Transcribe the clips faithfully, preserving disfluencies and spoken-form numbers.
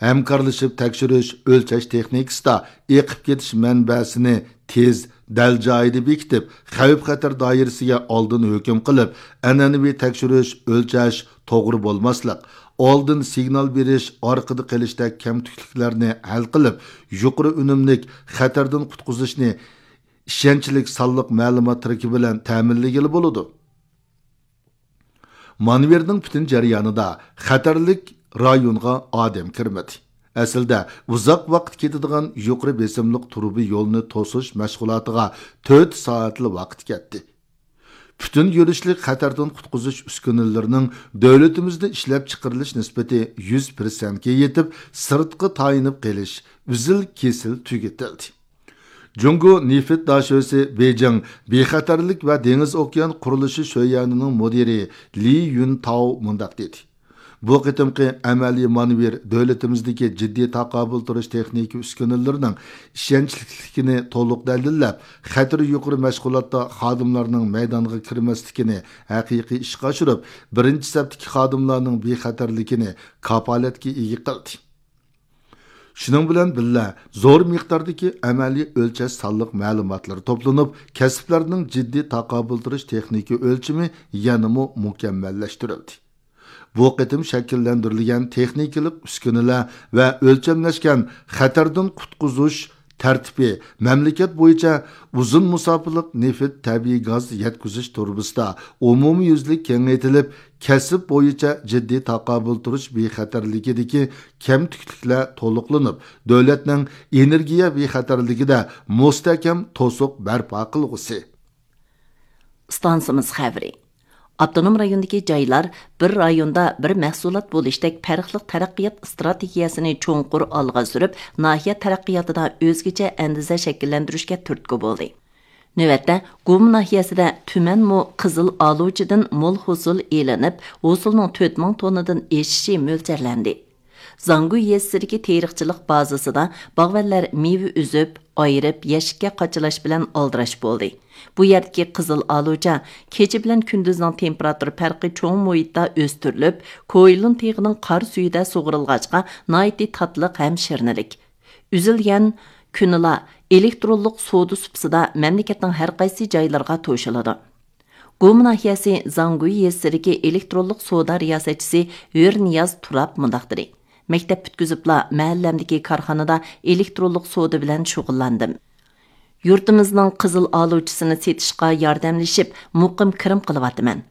ھەمكارلىشىپ تەكشۈرۈش، ئۆلچەش تېخنىكىسىدا ئېقىپ كېتىش مەنبەسىنى تېز، دەل جايىدا بېكىتىپ، خەۋپ-خەتەر دائىرىسىگە ئالدىن ھۆكۈم قىلىپ، ئەنئەنىۋى تەكشۈرۈش، ئۆلچەش، توغرا بولماسلىق، ئالدىن سىگنال بېرىش، ئارقىدا قېلىشتەك كەمتۈكلۈكلەرنى ھەل قىلىپ، يۇقىرى ئۈنۈملۈك خەتەردىن قۇتقۇزۇشنى ئىشەنچلىك سانلىق مەلۇمات تىرىكى بىلەن تەمىنلىگىلى بولىدۇ. مانېۋىرنىڭ پۈتۈن جەريانىدا خەتەرلىك رايونغا ئادەم كىرمىدى. ئەسلىدە ئۇزاق ۋاقىت كېتىدىغان يۇقىرى بېسىملىق تۇرۇبا يولنى توسۇش مەشغۇلاتىغا تۆت سائەتلا ۋاقىت كەتتى. پۈتۈن يۈرۈشلۈك خەتەردىن قۇتقۇزۇش ئۈسكۈنىلىرىنىڭ دۆلىتىمىزدە ئىشلەپچىقىرىلىش نىسبىتى يۈز پىرسەنتكە يېتىپ، سىرتقا تايىنىپ قېلىش ئۈزۈل-كېسىل تۈگىتىلدى. جۇڭگو نېفىت داشۆسى بېيجىڭ بىخەتەرلىك ۋە دېڭىز ئوكيان قۇرۇلۇشى شۆيۈەنىنىڭ مۇدىرى لى يۈنتاۋ مۇنداق دېدى: بۇ قېتىمقى ئەمەلىي مانېۋىر دۆلىتىمىزدىكى جىددىي تاقابىل تۇرۇش تېخنىكا ئۈسكۈنىلىرىنىڭ ئىشەنچلىكلىكىنى تولۇق دەلىللەپ، خەتىرى يۇقىرى مەشغۇلاتتا خادىملارنىڭ مەيدانغا كىرمەسلىكىنى ھەقىقىي ئىشقا ئاشۇرۇپ، بىرىنچى سەپتىكى خادىملارنىڭ بىخەتەرلىكىنى كاپالەتكە ئىگە قىلدى. شۇنىڭ بىلەن بىللە، زور مىقداردىكى ئەمەلىي ئۆلچەش سانلىق مەلۇماتلىرى توپلىنىپ، كەسىپلەرنىڭ جىددىي تاقابىل تۇرۇش تېخنىكا ئۆلچىمى يەنىمۇ مۇكەممەللەشتۈرۈلدى. بۇ قېتىم شەكىللەندۈرۈلگەن تېخنىكىلىق ئۈسكۈنىلەر ۋە ئۆلچەملەشكەن خەتەردىن قۇتقۇزۇش تەرتىپى مەملىكەت بويىچە ئۇزۇن مۇساپىلىق نېفىت، تەبىئىي گاز يەتكۈزۈش تۇرۇبىسىدا ئومۇميۈزلۈك كېڭەيتىلىپ، كەسىپ بويىچە جىددىي تاقابىل تۇرۇش بىخەتەرلىكىدىكى كەمتۈكلۈكلەر تولۇقلىنىپ، دۆلەتنىڭ ئېنېرگىيە بىخەتەرلىكىدە مۇستەھكەم توسۇق بەرپا قىلغۇسى. ئىستانسىمىز خەۋىرى. ئاپتونوم رايوندىكى جايلار بىر رايوندا بىر مەھسۇلات بولۇشتەك پەرقلىق تەرەققىيات ئىستراتېگىيەسىنى چوڭقۇر ئالغا سۈرۈپ، ناھىيە تەرەققىياتىدا ئۆزگىچە ئەندىزە شەكىللەندۈرۈشكە تۈرتكە بولدى. نۆۋەتتە، گۇما ناھىيەسىدە تۈمەنمۇ قىزىل ئالۇچىدىن مول ھوسۇل ئېلىنىپ، ھوسۇلنىڭ تۆت مىڭ توننىدىن ئېشىشى مۆلچەرلەندى. زاڭگۇي يېزىسىدىكى تېرىقچىلىق بازىسىدا باغۋەنلەر مېۋە ئۈزۈپ، ئايرىپ، يەشىككە قاچىلاش بىلەن ئالدىراش بولدى. بۇ يەردىكى قىزىل ئالۇچا كېچە بىلەن كۈندۈزنىڭ تېمپېراتۇرا پەرقى چوڭ مۇھىتتا ئۆستۈرۈلۈپ، كويلۇن تېغىنىڭ قار سۈيىدە سۇغىرىلغاچقا، ناھايىتى تاتلىق ھەم شىرنىلىك. ئۈزۈلگەن كۈنىلا ئېلېكترونلۇق سودا سۇپىسىدا مەملىكەتنىڭ ھەر قايسى جايلىرىغا توشۇلىدۇ. گۇما ناھىيەسى زاڭگۇي يېزىسىدىكى ئېلېكترونلۇق سودا رىياسەتچىسى ھۆرنىياز تۇراپ مۇنداق دېدى: مەكتەپ پۈتكۈزۈپلا مەھەللەمدىكى كارخانىدا ئېلېكترونلۇق سودا بىلەن شۇغۇللاندىم. يۇرتىمىزنىڭ قىزىل ئالۇچىسىنى سېتىشقا ياردەملىشىپ، مۇقىم كىرىم قىلىۋاتىمەن.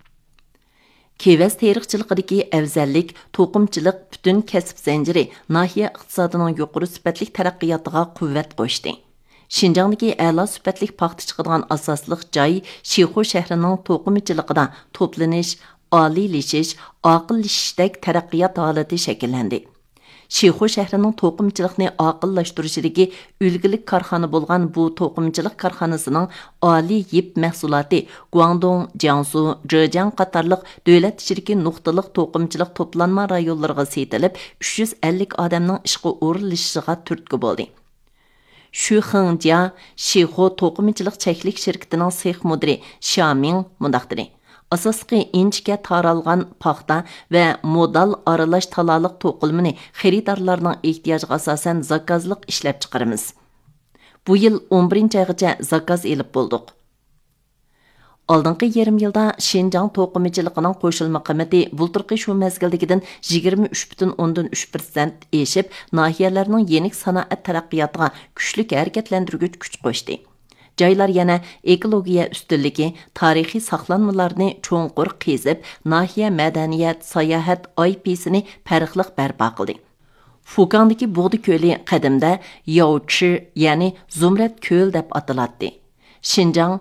كېۋەز تېرىقچىلىقىدىكى ئەۋزەللىك، توقۇمىچىلىق پۈتۈن كەسىپ زەنجىرى ناھىيە ئىقتىسادىنىڭ يۇقىرى سۈپەتلىك تەرەققىياتىغا قۇۋۋەت قوشتى. شىنجاڭدىكى ئەلا سۈپەتلىك پاختا چىقىدىغان ئاساسلىق جاي شىخۇ شەھىرىنىڭ توقۇمىچىلىقىدا توپلىنىش، ئالىيلىشىش، ئاقىللىشىشتەك تەرەققىيات ھالىتى شەكىللەندى. شىخۇ شەھىرىنىڭ توقۇمىچىلىقنى ئاقىللاشتۇرۇشىدىكى ئۈلگىلىك كارخانا بولغان بۇ توقۇمىچىلىق كارخانىسىنىڭ ئالىي يىپ مەھسۇلاتى گۇاڭدۇڭ، جياڭسۇ، جېجياڭ قاتارلىق دۆلەت ئىچىدىكى نۇقتىلىق توقۇمىچىلىق توپلانما رايونلىرىغا سېتىلىپ، ئۈچ يۈز ئەللىك ئادەمنىڭ ئىشقا ئورۇنلىشىشىغا تۈرتكە بولدى. شۈخېڭجيا شىخۇ توقۇمىچىلىق چەكلىك شىركىتىنىڭ سېخ مۇدىرى شيامىڭ مۇنداق دېدى: ئاساسلىقى ئىنچىكە تارالغان پاختا ۋە مودال ئارىلاش تالالىق توقۇلمىنى خېرىدارلارنىڭ ئېھتىياجىغا ئاساسەن زاكازلىق ئىشلەپچىقىرىمىز. بۇ يىل ئون بىرىنچى ئايغىچە زاكاز ئېلىپ بولدۇق. ئالدىنقى يېرىم يىلدا شىنجاڭ توقۇمىچىلىقىنىڭ قوشۇلما قىممىتى بۇلتۇرقى شۇ مەزگىلدىكىدىن يىگىرمە ئۈچ پۈتۈن ئوندىن ئۈچ پىرسەنت ئېشىپ، ناھىيەلەرنىڭ يېنىك سانائەت تەرەققىياتىغا كۈچلۈك ھەرىكەتلەندۈرگۈچ كۈچ قوشتى. جايلار يەنە ئېكولوگىيە ئۈستۈنلۈكى، تارىخىي ساقلانمىلارنى چوڭقۇر قېزىپ، ناھىيە مەدەنىيەت، ساياھەت ئاي پىسىنى پەرقلىق بەرپا قىلدى. فۇكاڭدىكى بۇغدا كۆلى قەدىمدە ياۋچى، يەنى زۇمرەت كۆل دەپ ئاتىلاتتى. شىنجاڭ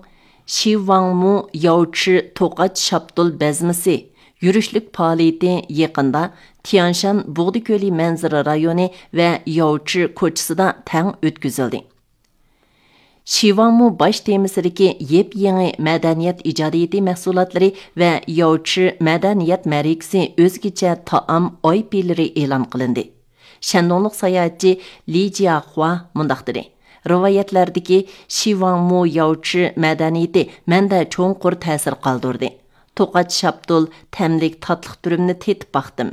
شىۋاڭمۇ ياۋچى توقاچ شاپتۇل بەزمىسى يۈرۈشلۈك پائالىيىتى يېقىندا تيانشان بۇغدا كۆلى مەنزىرە رايونى ۋە ياۋچى كوچىسىدا تەڭ ئۆتكۈزۈلدى. شىۋاڭمۇ باش تېمىسىدىكى يېپيېڭى مەدەنىيەت ئىجادىيىتى مەھسۇلاتلىرى ۋە ياۋچى مەدەنىيەت مەرىكىسى ئۆزگىچە تائام ئاي پىلىرى ئېلان قىلىندى. شەندۇڭلۇق ساياھەتچى لى جياخۇا مۇنداق دېدى: رىۋايەتلەردىكى شىۋاڭمۇ ياۋچى مەدەنىيىتى مەندە چوڭقۇر تەسىر قالدۇردى. توقاچ شاپتۇل تەملىك تاتلىق دۈرۈمنى تېتىپ باقتىم.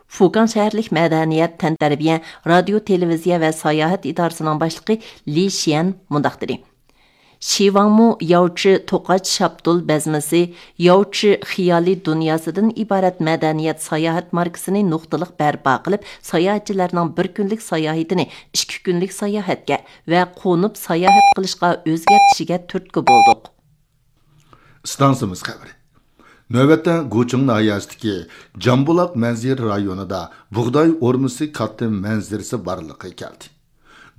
فۇكاڭ شەھەرلىك مەدەنىيەت، تەنتەربىيە، رادىيو، تېلېۋىزىيە ۋە ساياھەت ئىدارىسىنىڭ باشلىقى لى شيەن مۇنداق دېدى: شىۋاڭمۇ ياۋچى توقاچ شاپتۇل بەزمىسى، ياۋچى خىيالىي دۇنياسىدىن ئىبارەت مەدەنىيەت ساياھەت ماركىسىنى نۇقتىلىق بەرپا قىلىپ، ساياھەتچىلەرنىڭ بىر كۈنلۈك ساياھىتىنى ئىككى كۈنلۈك ساياھەتكە ۋە قونۇپ ساياھەت قىلىشقا ئۆزگەرتىشىگە تۈرتكە بولدۇق. ئىستانسىمىز خەۋىرى. نۆۋەتتە گۇچىڭ ناھىيەسىدىكى جامبۇلاق مەنزىرە رايونىدا بۇغداي ئورمىسى كاتتا مەنزىرىسى بارلىققا كەلدى.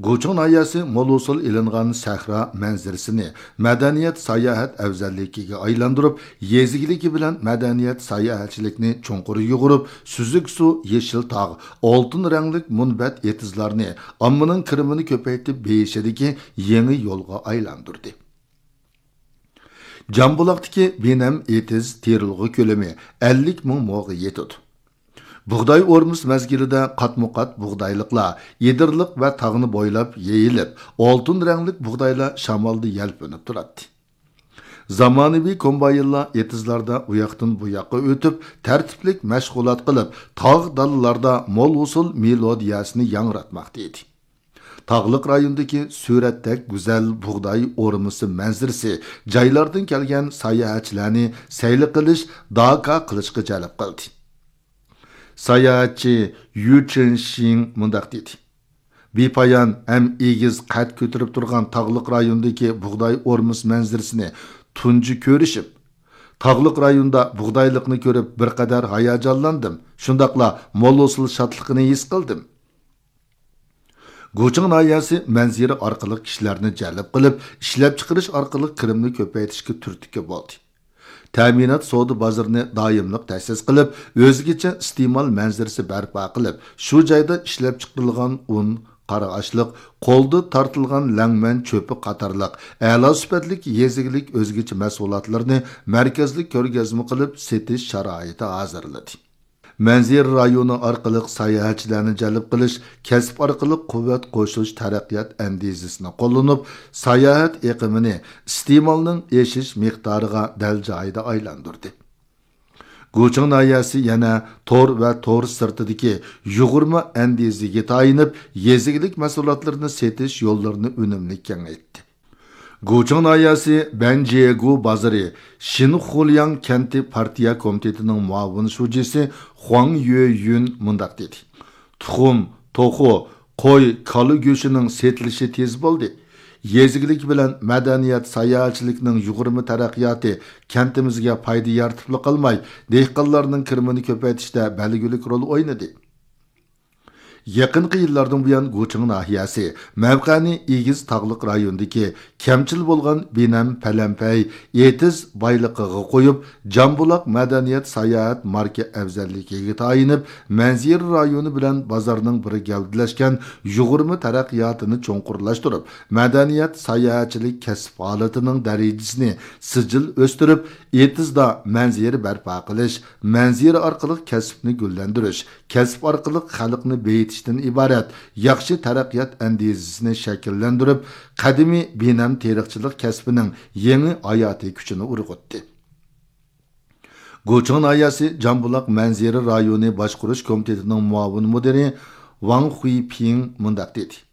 گۇچىڭ ناھىيەسى مول ھوسۇل ئېلىنغان سەھرا مەنزىرىسىنى مەدەنىيەت ساياھەت ئەۋزەللىكىگە ئايلاندۇرۇپ، يېزا ئىگىلىكى بىلەن مەدەنىيەت ساياھەتچىلىكنى چوڭقۇر يۇغۇرۇپ، سۈزۈك سۇ، يېشىل تاغ، ئالتۇن رەڭلىك مۇنبەت ئېتىزلارنى ئاممىنىڭ كىرىمىنى كۆپەيتىپ بېيىشىدىكى يېڭى يولغا ئايلاندۇردى. جامبۇلاقتىكى بىنەم ئېتىز تېرىلغۇ كۆلىمى ئەللىك مىڭ موغا يېتىدۇ. بۇغداي ئورمىسى مەزگىلىدە قاتمۇ قات بۇغدايلىقلار ئېدىرلىق ۋە تاغنى بويلاپ يېيىلىپ، ئالتۇن رەڭلىك بۇغدايلار شامالدا يەلپۈنۈپ تۇراتتى. زامانىۋى كومباينلار ئېتىزلاردا ئۇياقتىن بۇياققا ئۆتۈپ، تەرتىپلىك مەشغۇلات قىلىپ، تاغ دالىلاردا مول ھوسۇل مېلودىيەسىنى ياڭراتماقتا ئىدى. تاغلىق رايوندىكى سۈرەتتەك گۈزەل بۇغداي ئورمىسى مەنزىرىسى جايلاردىن كەلگەن ساياھەتچىلەرنى سەيلە قىلىش، داكا قىلىشقا جەلپ قىلدى. ساياھەتچى يۈ چېنشىڭ مۇنداق دېدى: بىپايان ھەم ئېگىز قەد كۆتۈرۈپ تۇرغان تاغلىق رايوندىكى بۇغداي ئورمىسى مەنزىرىسىنى تۇنجى كۆرۈشۈم. تاغلىق رايوندا بۇغدايلىقنى كۆرۈپ بىر قەدەر ھاياجانلاندىم، شۇنداقلا مول ھوسۇل شادلىقىنى ھېس قىلدىم. گۇچىڭ ناھىيەسى مەنزىرە ئارقىلىق كىشىلەرنى جەلپ قىلىپ، ئىشلەپچىقىرىش ئارقىلىق كىرىمنى كۆپەيتىشكە تۈرتكە بولدى. تەمىنات سودا بازىرىنى دائىملىق تەسىس قىلىپ، ئۆزگىچە ئىستېمال مەنزىرىسى بەرپا قىلىپ، شۇ جايدا ئىشلەپچىقىرىلغان ئۇن، قارا ئاشلىق، قولدا تارتىلغان لەڭمەن چۆپى قاتارلىق ئەلا سۈپەتلىك يېزا ئىگىلىك ئۆزگىچە مەھسۇلاتلىرىنى مەركەزلىك كۆرگەزمە قىلىپ سېتىش شارائىتى ھازىرلىدى. مەنزىرە رايونى ئارقىلىق ساياھەتچىلەرنى جەلپ قىلىش، كەسىپ ئارقىلىق قۇۋۋەت قوشۇش تەرەققىيات ئەندىزىسىنى قوللىنىپ، ساياھەت ئېقىمىنى ئىستېمالنىڭ ئېشىش مىقدارىغا دەل جايىدا ئايلاندۇردى. گۇچىڭ ناھىيەسى يەنە تور ۋە تور سىرتىدىكى يۇغۇرما ئەندىزىگە تايىنىپ، يېزا ئىگىلىك مەھسۇلاتلىرىنى سېتىش يوللىرىنى ئۈنۈملۈك كېڭەيتتى. گۇچىڭ ناھىيەسى بەنجيېگۇ بازىرى شىنخۇلياڭ كەنتى پارتىيە كومىتېتىنىڭ مۇئاۋىن شۇجىسى خۇاڭ يۆيۈن مۇنداق دېدى: تۇخۇم، توخۇ، قوي، كالا گۆشىنىڭ سېتىلىشى تېز بولدى. يېزا ئىگىلىكى بىلەن مەدەنىيەت ساياھەتچىلىكنىڭ يۇغۇرما تەرەققىياتى كەنتىمىزگە پايدا يارىتىپلا قالماي، دېھقانلارنىڭ كىرىمىنى كۆپەيتىشتە بەلگىلىك رول ئوينىدى. يېقىنقى يىللاردىن بۇيان، گۇچىڭ ناھىيەسى مەۋقەنى ئېگىز تاغلىق رايوندىكى كەمچىل بولغان بىنەم پەلەمپەي ئېتىز بايلىقىغا قويۇپ، جامبۇلاق مەدەنىيەت ساياھەت ماركا ئەۋزەللىكىگە تايىنىپ، مەنزىرە رايونى بىلەن بازارنىڭ بىر گەۋدىلەشكەن يۇغۇرما تەرەققىياتىنى چوڭقۇرلاشتۇرۇپ، مەدەنىيەت ساياھەتچىلىك كەسىپ ھالىتىنىڭ دەرىجىسىنى سىجىل ئۆستۈرۈپ، ئېتىزدا مەنزىرە بەرپا قىلىش، مەنزىرە ئارقىلىق كەسىپنى گۈللەندۈرۈش، كەسىپ ئارقىلىق خەلقنى بېيىتىشتىن ئىبارەت ياخشى تەرەققىيات ئەندىزىسىنى شەكىللەندۈرۈپ، قەدىمىي بىنەم تېرىقچىلىق كەسپىنىڭ يېڭى ھاياتىي كۈچىنى ئۇرغۇتتى. گۇچىڭ ناھىيەسى جامبۇلاق مەنزىرە رايونى باشقۇرۇش كومىتېتىنىڭ مۇئاۋىن مۇدىرى ۋاڭ خۇيپىڭ مۇنداق دېدى: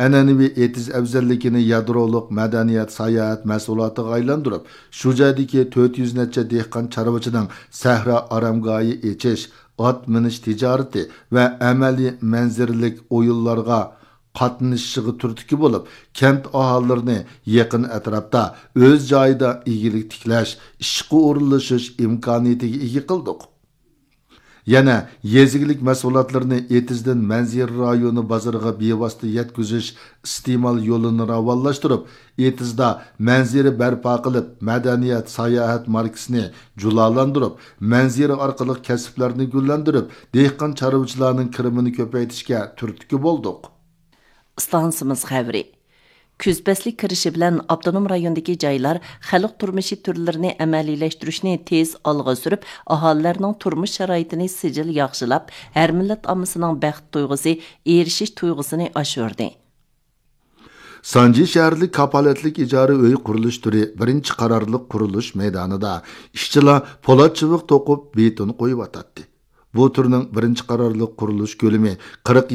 ئەنئەنىۋى ئېتىز ئەۋزەللىكىنى يادرولۇق مەدەنىيەت ساياھەت مەھسۇلاتىغا ئايلاندۇرۇپ، شۇ جايدىكى تۆت يۈز نەچچە دېھقان چارۋىچىنىڭ سەھرا ئارامگاھى ئېچىش، ئات مىنىش تىجارىتى ۋە ئەمەلىي مەنزىرىلىك ئويۇنلارغا قاتنىشىشىغا تۈرتكە بولۇپ، كەنت ئاھالىلىرىنى يېقىن ئەتراپتا ئۆز جايىدا ئىگىلىك تىكلەش، ئىشقا ئورۇنلىشىش ئىمكانىيىتىگە ئىگە قىلدۇق. يەنە يېزا ئىگىلىك مەھسۇلاتلىرىنى ئېتىزدىن مەنزىرە رايونى بازىرىغا بىۋاسىتە يەتكۈزۈش ئىستېمال يولىنى راۋانلاشتۇرۇپ، ئېتىزدا مەنزىرە بەرپا قىلىپ، مەدەنىيەت، ساياھەت ماركىسىنى جۇلالاندۇرۇپ، مەنزىرە ئارقىلىق كەسىپلەرنى گۈللەندۈرۈپ، دېھقان چارۋىچىلارنىڭ كىرىمىنى كۆپەيتىشكە تۈرتكە بولدۇق. ئىستانسىمىز خەۋىرى. كۈز پەسلى كىرىشى بىلەن ئاپتونوم رايوندىكى جايلار خەلق تۇرمۇشى تۈرلىرىنى ئەمەلىيلەشتۈرۈشنى تېز ئالغا سۈرۈپ، ئاھالىلەرنىڭ تۇرمۇش شارائىتىنى سىجىل ياخشىلاپ، ھەر مىللەت ئاممىسىنىڭ بەخت تۇيغۇسى، ئېرىشىش تۇيغۇسىنى ئاشۇردى. سانجى شەھەرلىك كاپالەتلىك ئىجارە ئۆي قۇرۇلۇش تۈرى بىرىنچى قارارلىق قۇرۇلۇش مەيدانىدا ئىشچىلار پولات چىۋىق توقۇپ، بېتون قويۇۋاتاتتى. بۇ تۈرنىڭ بىرىنچى قارارلىق قۇرۇلۇش كۆلىمى قىرىق